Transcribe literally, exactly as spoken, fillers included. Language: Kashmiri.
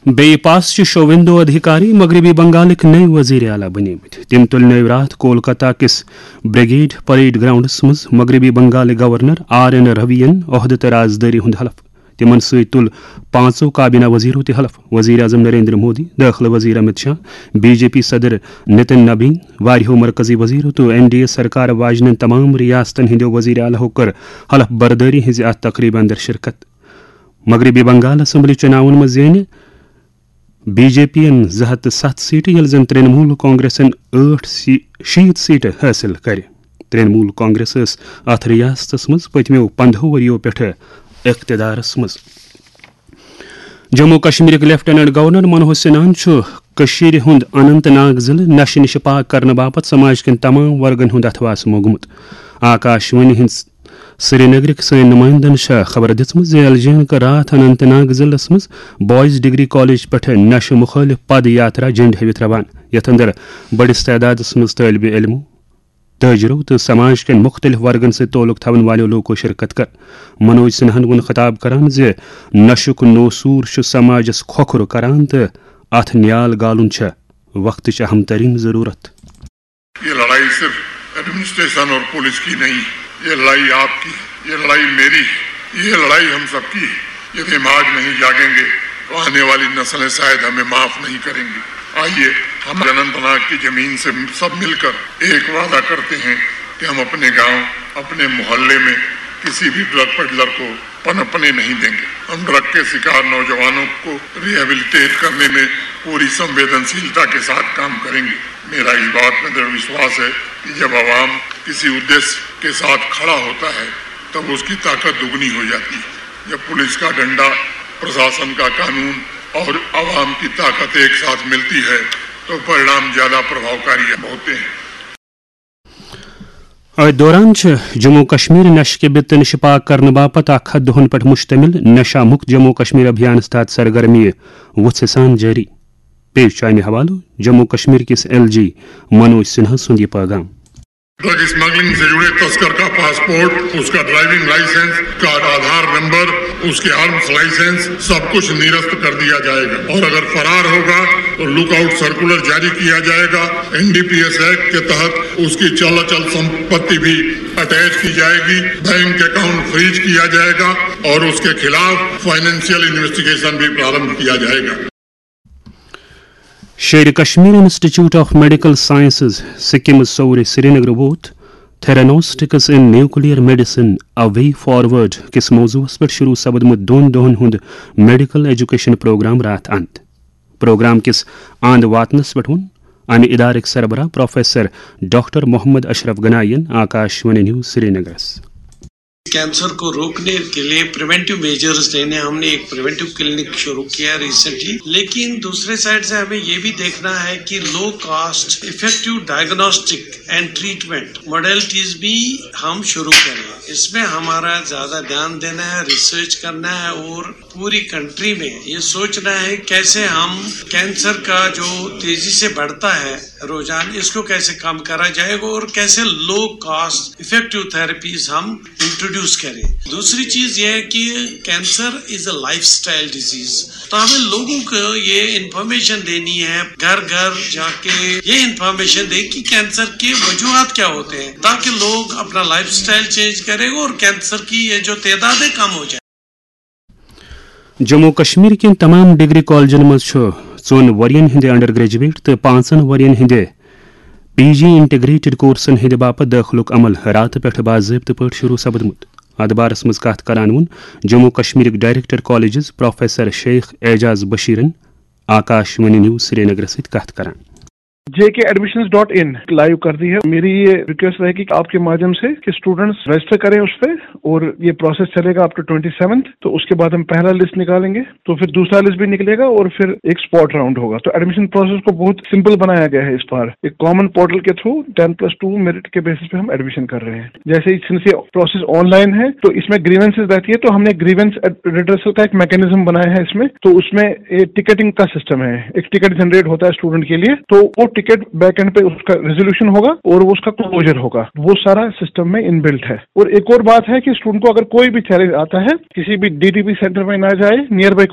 بیٚیہِ پاس چھِ شوویندو ادھیکاری مغربی بنگالٕکۍ نٔوۍ وزیر اعلیٰ بنیمٕتۍ۔ تِم تُلنٲوۍ راتھ کولکتہ کِس بریگیڈ پریڈ گراؤنڈس منٛز مغربی بنگالٕکۍ گورنر آر این روی ین عہدٕ تہٕ رازدٲری ہُنٛد حلف۔ تِمن سۭتۍ تُل پانٛژو کابینہ وزیرو تہِ حلف۔ وزیر اعظم نریندر مودی، دٲخلہٕ وزیر Amit Shah, B J P صدر نتن نبین، واریاہو مرکزی وزیرو تہٕ این ڈی اے سرکار واجنٮ۪ن تمام ریاستن ہٕنٛدیو وزیر اعلیٰ ہو کٔر حلف بردٲری ہٕنٛزِ اتھ تقریبہِ اندر شرکت۔ مغربی بنگال اسمبلی چُناون منٛز زینہِ بی جے پی یَن زٕ ہَتھ تہٕ سَتھ سیٹہٕ، ییٚلہِ زن ترٛنمول کانگریسن ٲٹھ سی-، شیٖتھ سیٹہٕ حٲصِل کرِ۔ ترٛنمول کانگریس ٲس اتھ ریاستس منٛز پٔتمیو پندہو ؤرِیو پٮ۪ٹھٕ اقتدارس منٛز۔ جموں کشمیرٕکۍ لیفٹیننٹ گورنر منوہر سنہاہن چھُ کٔشیٖرِ ہُنٛد اننت ناگ ضلعہٕ نشہٕ نِش پاک کرنہٕ باپتھ سماج کٮ۪ن تمام ورگن ہُنٛد اتھواس موٚنگمُت۔ آکاش وانی ہٕنٛز سرینگرٕکۍ سٲنۍ نُمٲیندن چھےٚ خبر دِژمٕژ زِ ایل جے یَن کٔر راتھ اننت ناگ ضلعس منٛز بوائز ڈگری کالج پٮ۪ٹھٕ نشہٕ مُخٲلف پد یاترا جنڈٕ ہٲوِتھ روانہٕ، یتھ اندر بٔڑِس تعدادس منٛز طٲلبِ علمو، تاجرو تہٕ سماج کٮ۪ن مُختٔلِف ورگن سۭتۍ تعلق تھاون والٮ۪و لوٗکو شرکت کٔر۔ منوج سنہاہن ووٚن خطاب کران زِ نشُک نوسوٗر چھُ سماجس کھوکھرٕ کران تہٕ اتھ نیال گالُن چھےٚ وقتٕچ اہم ترین ضرورت۔ یہ لڑائی صرف ایڈمنسٹریشن اور پولیس کی نہیں، یہ لڑائی آپ کی، یہ لڑائی میری، یہ لڑائی ہم سب کی ہے۔ یدی ہم آج نہیں جاگیں گے تو آنے والی نسلیں شاید ہمیں معاف نہیں کریں گی۔ آئیے، ہم اننت ناگ کی زمین سے سب مل کر ایک وعدہ کرتے ہیں کہ ہم اپنے گاؤں، اپنے محلے میں کسی بھی ڈرگ پیڈلر کو پنپنے نہیں دیں گے۔ ہم ڈرگ کے شکار نوجوانوں کو ریہیبلیٹیٹ کرنے میں پوری سنویدنشیلتا کے ساتھ کام کریں گے۔ میرا اس بات میں دڑھ وشواس ہے کہ جب عوام کسی ادیش کے ساتھ کھڑا ہوتا ہے، تب اس کی طاقت دگنی ہو جاتی ہے۔ جب پولیس کا ڈنڈا، پرشاسن کا قانون اور عوام کی طاقت ایک ساتھ ملتی ہے، تو پرینام زیادہ پربھاوکاری ہوتے ہیں۔ أتھۍ دوران چھِ جموں کشمیر نشہٕ کہِ بِتہٕ نِش پاک کرنہٕ باپتھ اکھ ہتھ دۄہن پٮ۪ٹھ مشتمل نشہ مکت جموں کشمیر ابھیانس تحت سرگرمی وُژھِ سان جٲری۔ پیش چھُ امہِ حوالہٕ جموں کشمیر کِس ایل جی منوج سنہا سُنٛد یہِ پٲغام۔ ڈرگ اسمگلنگ سے جڑے تسکر کا پاسپورٹ، اس کا ڈرائیونگ لائسنس، کا آدھار نمبر، اس کے آرمز لائسنس، سب کچھ نرست کر دیا جائے گا اور اگر فرار ہوگا تو لک آؤٹ سرکولر جاری کیا جائے گا۔ N D P S act کے تحت اس کی چل اچل سمپتی بھی اٹیچ کی جائے گی، بینک اکاؤنٹ فریز کیا جائے گا اور اس کے خلاف فائنینشیل انویسٹیگیشن بھی پرارمبھ کیا جائے گا۔ Sher-e Kashmir institute of medical sciences SKIMS سورِ سرینگر ووت theranostics in nuclear medicine, a way forward کِس موضوعس پٮ۪ٹھ شروع سپدمُت دۄن دۄہن ہُنٛد میڈیکل ایجوکیشن پروگرام راتھ اند۔ پروگرام کِس اند واتنس پٮ۪ٹھ ووٚن امہِ ادارٕکۍ سربراہ پروفیسر ڈاکٹر محمد اشرف گنائی ین آکاش وانی نیوز سرینگرس۔ کینسر کو روکنے کے لیے پریونٹیو میجرز لینے، ہم نے ایک پریونٹیو کلینک شروع کیا ریسنٹلی، لیکن دوسرے سائڈ سے ہمیں یہ بھی دیکھنا ہے کہ low cost effective diagnostic and treatment modalities بھی ہم شروع کریں۔ اس میں ہمارا زیادہ دھیان دینا ہے، ریسرچ کرنا ہے اور پوری کنٹری میں یہ سوچنا ہے کیسے ہم کینسر کا جو تیزی سے بڑھتا ہے روزانہ، اس کو کیسے کم کرا جائے گا اور کیسے لو کاسٹ افیکٹو تھراپیز ہم انٹروڈیوس کریں۔ دوسری چیز یہ ہے کہ cancer is a lifestyle disease, تو ہمیں لوگوں کو یہ انفارمیشن دینی ہے، گھر گھر جا کے یہ انفارمیشن دیں کہ کینسر کے وجوہات کیا ہوتے ہیں، تاکہ لوگ اپنا لائف اسٹائل چینج کریں اور کینسر کی یہ جو تعداد ہے کم ہو جائے۔ جموں کشمیر کٮ۪ن تمام ڈگری کالجن منٛز چھُ ژۄن ؤرین ہٕنٛدِ انڈر گریجویٹ تہٕ پانٛژن ؤرین ہٕنٛدِ پی جی انٹیگریٹڈ کورسن ہٕنٛدِ باپتھ دٲخلُک عمل راتہٕ پٮ۪ٹھٕ باضٲبطہٕ پٲٹھۍ شروع سپدمُت۔ اتھ بارس منٛز کتھ کران ووٚن جموں کشمیرٕکۍ director colleges professor Sheikh Aijaz بشیرن آکاش وانی نیوز سرینگرس سۭتۍ کتھ کران۔ J K admissions dot in live کر دی ہے۔ میری یہ ریکویسٹ رہے گی کہ آپ کے مادھیم سے کہ اسٹوڈنٹس رجسٹر کریں اس پہ، اور یہ پروسیس چلے گا اپ ٹو ٹوئنٹی سیونتھ۔ تو اس کے بعد ہم پہلا لسٹ نکالیں گے، تو پھر دوسرا لسٹ بھی نکلے گا، اور پھر ایک اسپاٹ راؤنڈ ہوگا۔ تو ایڈمیشن پروسیس کو بہت سمپل بنایا گیا ہے اس بار۔ ایک کامن پورٹل کے through ten plus two merit کے بیسس پہ ہم ایڈمیشن کر رہے ہیں۔ جیسے ہی، سنس یہ پروسیس آن لائن ہے، تو اس میں گریونسز رہتی ہے، تو ہم نے گریونس ریڈریسل کا ایک میکانزم بنایا ہے اس میں۔ تو اس میں ٹکٹنگ کا سسٹم ہے، ایک ٹکٹ جنریٹ ہوتا ہے اسٹوڈنٹ کے لیے، تو وہ ٹکٹ بیک اینڈ پہ اس کا ریزولوشن ہوگا اور وہ اس کا کلوجر ہوگا، وہ سارا سسٹم میں ان بلٹ ہے۔ اور ایک اور بات ہے کہ اسٹوڈنٹ کو اگر کوئی بھی چیلنج آتا ہے، کسی بھی ڈی ٹی پی سینٹر میں نہ جائے، نیئر بائی